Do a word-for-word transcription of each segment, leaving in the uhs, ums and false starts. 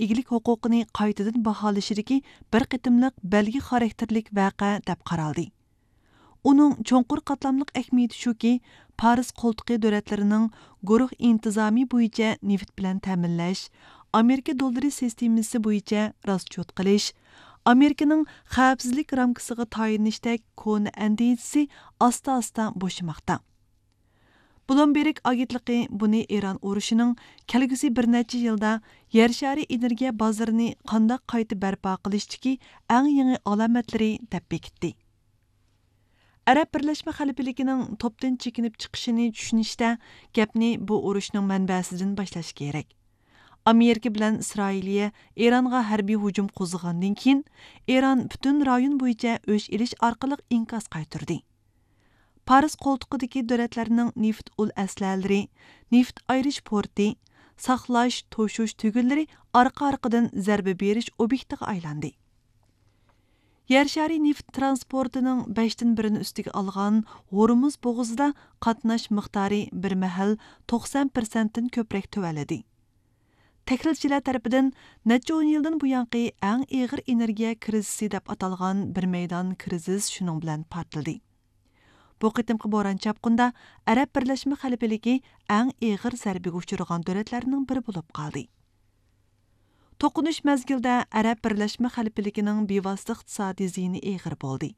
ئىگىلىك ھوقۇقىنى قايتىدىن باھالىشىدىكى بىر قېتىملىق بەلگە خاراكتېرلىك ۋەقە دەپ قارالدى. ئۇنىڭ چوڭقۇر قاتلاملىق ئەھمىيىتى شۇكى، پارس قولتۇقى دۆلەتلىرىنىڭ گۇرۇھ ئىنتىزامى بويىچە نېفىت بىلەن تەمىنلەش، ئامېرىكا دوللىرى سىستېمىسى بويىچە راسچوت قىلىش، ئامېرىكىنىڭ خەۋپسىزلىك رامكىسىغا تايىنىشتەك كونا ئەندىزىسى ئاستا-ئاستا بوشىماقتا. بلومبېرگ ئاگېنتلىقى بۇنى ئىران ئۇرۇشىنىڭ كەلگۈسى بىر نەچچە يىلدا يەر شارى ئېنېرگىيە بازىرىنى قانداق قايتا بەرپا قىلىشتىكى ئەڭ يېڭى ئالامەتلىرى دەپ بېكىتتى. ئەرەب بىرلەشمە خەلىپىلىكىنىڭ توپتىن چېكىنىپ چىقىشىنى چۈشىنىشتە، گەپنى بۇ ئۇرۇشنىڭ مەنبەسىدىن باشلاش كېرەك. ئامېرىكا بىلەن ئىسرائىلىيە ئىرانغا ھەربىي ھۇجۇم قوزغىغاندىن كېيىن، ئىران پۈتۈن رايون بويىچە ئۆچ ئېلىش ئارقىلىق ئىنكاس قايتۇردى. پارس قولتۇقىدىكى دۆلەتلەرنىڭ نېفىت ئۇل ئەسلىھەلىرى، نېفىت ئايرىش پورتى، ساقلاش، توشۇش تۈگۈنلىرى ئارقا-ئارقىدىن زەربە بېرىش ئوبيېكتىغا ئايلاندى. يەر شارى نېفىت ترانسپورتىنىڭ بەشتىن بىرىنى ئۈستىگە ئالغان ھورمۇز بوغۇزىدا قاتناش مىقدارى بىر مەھەل توقسان پىرسەنتتىن كۆپرەك تۆۋەنلىدى. تەھلىلچىلەر تەرىپىدىن نەچچە ئون يىلدىن بۇيانقى ئەڭ ئېغىر ئېنېرگىيە كىرىزىسى دەپ ئاتالغان بىر مەيدان كىرىزىس شۇنىڭ بىلەن پارتلىدى. بۇ قېتىمقى بوران چاپقۇندا ئەرەب بىرلەشمە خەلىپىلىكى ئەڭ ئېغىر زەربىگە ئۇچرىغان دۆلەتلەرنىڭ بىرى بولۇپ قالدى. توقۇنۇش مەزگىلىدە ئەرەب بىرلەشمە خەلىپىلىكىنىڭ بىۋاسىتە ئىقتىسادىي زىيىنى ئېغىر بولدى.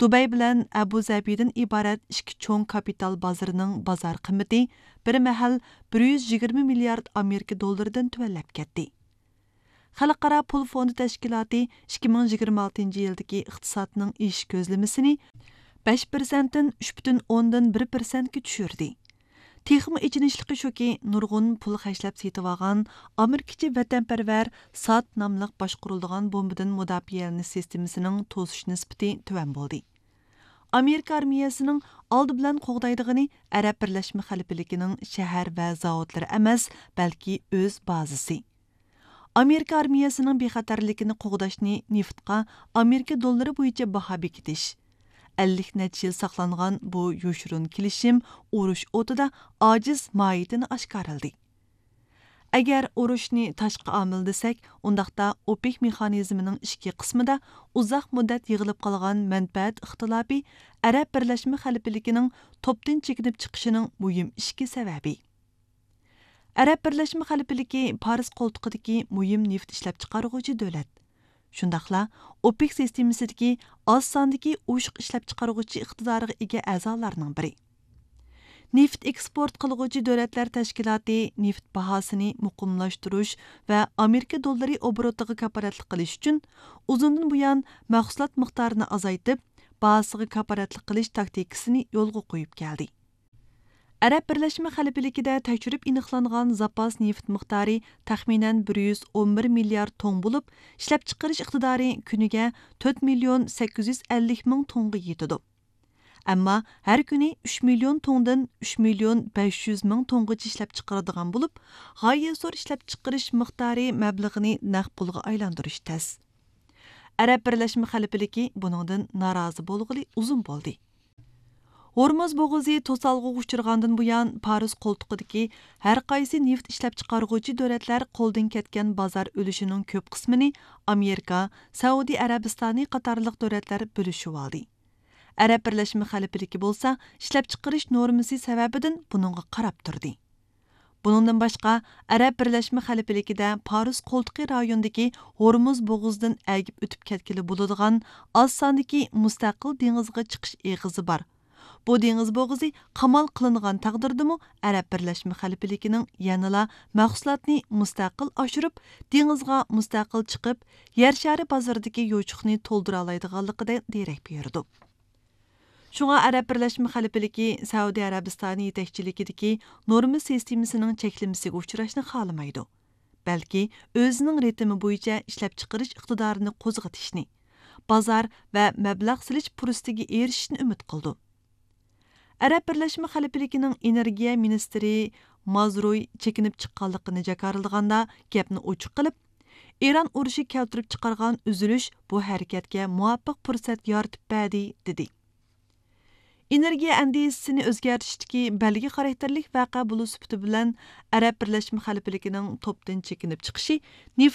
دۇبەي بىلەن ئەبۇ زەبىدىن ئىبارەت ئىككى چوڭ كاپىتال بازىرىنىڭ بازار قىممىتى بىر مەھەل بىر يۈز يىگىرمە مىليارد ئامېرىكا دوللىرىدىن تۆۋەنلەپ كەتتى. خەلقئارا پۇل فوندى تەشكىلاتى ئىككى مىڭ يىگىرمە ئالتىنچى يىلدىكى ئىقتىسادنىڭ ئېشىش كۆزلىمىسىنى بەش پىرسەنتتىن ئۈچ پۈتۈن ئوندىن بىر پىرسەنتكە چۈشۈردى. تېخىمۇ ئېچىنىشلىقى شۇكى، نۇرغۇن پۇل خەجلەپ سېتىۋالغان ئامېرىكىچە ۋەتەنپەرۋەر ساد ناملىق باشقۇرۇلىدىغان بومبىدىن مۇداپىئەلىنىش سىستېمىسىنىڭ توسۇش نىسبىتى تۆۋەن بولدى. ئامېرىكا ئارمىيەسىنىڭ ئالدى بىلەن قوغدايدىغىنى ئەرەب بىرلەشمە خەلىپىلىكىنىڭ شەھەر ۋە زاۋۇتلىرى ئەمەس، بەلكى ئۆز بازىسى. ئامېرىكا ئارمىيەسىنىڭ بىخەتەرلىكىنى قوغداشنى نېفىتقا ئامېرىكا دوللىرى بويىچە باھا بېكىتىش. ئەللىك نەچچە يىل ساقلانغان بۇ يوشۇرۇن كېلىشىم ئۇرۇش ئوتىدا ئاجىز ماھىيىتىنى ئاشكارىلىدى. ئەگەر ئۇرۇشنى تاشقى ئامىل دېسەك، ئۇنداقتا ئوپېك مېخانىزمىنىڭ ئىچكى قىسمىدا ئۇزاق مۇددەت يىغىلىپ قالغان مەنپەئەت ئىختىلاپى ئەرەب بىرلەشمە خەلىپىلىكىنىڭ توپتىن چېكىنىپ چىقىشىنىڭ مۇھىم ئىچكى سەۋەبى. ئەرەب بىرلەشمە خەلىپىلىكى پارس قولتۇقىدىكى مۇھىم نېفىت ئىشلەپچىقارغۇچى دۆلەت. شۇنداقلا ئوپېك سىستېمىسىدىكى ئاز ساندىكى ئوشۇق ئىشلەپچىقارغۇچى ئىقتىدارىغا ئىگە ئەزالارنىڭ بىرى. نېفىت ئېكسپورت قىلغۇچى دۆلەتلەر تەشكىلاتى نېفىت باھاسىنى مۇقىملاشتۇرۇش ۋە ئامېرىكا دوللىرى ئوبوروتىغا كاپالەتلىك قىلىش ئۈچۈن ئۇزۇندىن بۇيان مەھسۇلات مىقدارىنى ئازايتىپ، باھاسىغا كاپالەتلىك قىلىش تاكتىكىسىنى يولغا قويۇپ كەلدى. ئەرەب بىرلەشمە خەلىپىلىكىدە تەكشۈرۈپ ئېنىقلانغان زاپاس نېفىت مىقدارى تەخمىنەن بىر يۈز ئون بىر مىليارد توڭ بولۇپ، ئىشلەپچىقىرىش ئىقتىدارى كۈنىگە تۆت مىليون سەككىز يۈز ئەللىك مىڭ توڭغا يېتىدۇ. ئەمما ھەر كۈنى ئۈچ مىليون توڭدىن ئۈچ مىليون بەش يۈز مىڭ توڭغىچە ئىشلەپچىقىرىدىغان بولۇپ، غايە زور ئىشلەپچىقىرىش مىقدارى مەبلىغىنى نەق پۇلغا ئايلاندۇرۇش تەس. ئەرەب بىرلەشمە خەلىپىلىكى بۇنىڭدىن نارازى بولغىلى ئۇزۇن بولدى. ھورمۇز بوغۇزى توسالغۇغا ئۇچرىغاندىن بۇيان، پارس قولتۇقىدىكى ھەر قايسى نېفىت ئىشلەپچىقارغۇچى دۆلەتلەر قولدىن كەتكەن بازار ئۈلۈشىنىڭ كۆپ قىسمىنى ئامېرىكا، سەئۇدى ئەرەبىستانى قاتارلىق دۆلەتلەر بۆلۈشۈۋالدى. ئەرەب بىرلەشمە خەلىپىلىكى بولسا ئىشلەپچىقىرىش نورمىسى سەۋەبىدىن بۇنىڭغا قاراپ تۇردى. بۇنىڭدىن باشقا، ئەرەب بىرلەشمە خەلىپىلىكىدە پارس قولتۇقى رايونىدىكى ھورمۇز بوغۇزىدىن ئەگىپ ئۆتۈپ كەتكىلى بولىدىغان ئاز ساندىكى مۇستەقىل دېڭىزغا چىقىش ئېغىزى بار. بۇ دېڭىز بوغۇزى قامال قىلىنغان تەقدىردىمۇ، ئەرەب بىرلەشمە خەلىپىلىكىنىڭ يەنىلا مەھسۇلاتنى مۇستەقىل ئاشۇرۇپ، دېڭىزغا مۇستەقىل چىقىپ، يەر شارى بازىرىدىكى يوچۇقنى تولدۇرالايدىغانلىقىدىن دېرەك بېرىدۇ. شۇڭا ئەرەب بىرلەشمە خەلىپىلىكى سەئۇدى ئەرەبىستانى يېتەكچىلىكىدىكى نورما سىستېمىسىنىڭ چەكلىمىسىگە ئۇچراشنى خالىمايدۇ، بەلكى ئۆزىنىڭ رىتىمى بويىچە ئىشلەپچىقىرىش ئىقتىدارىنى قوزغىتىشنى، بازار ۋە مەبلەغ سېلىش پۇرسىتىگە ئېرىشىشنى ئۈمىد قىلىدۇ. ئەرەب بىرلەشمە خەلىپىلىكىنىڭ ئېنېرگىيە مىنىستىرى مازروي چېكىنىپ چىققانلىقىنى جاكارلىغاندا، گەپنى ئوچۇق قىلىپ، ئىران ئۇرۇشى كەلتۈرۈپ چىقارغان ئۈزۈلۈش بۇ ھەرىكەتكە مۇۋاپىق پۇرسەت يارىتىپ بەردى، دېدى. ئېنېرگىيە ئەندىزىسىنى ئۆزگەرتىشتىكى بەلگە خاراكتېرلىك ۋەقە بولۇش سۈپىتى بىلەن ئەرەب بىرلەشمە خەلىپىلىكىنىڭ توپتىن چېكىنىپ چىقىشى نېفىت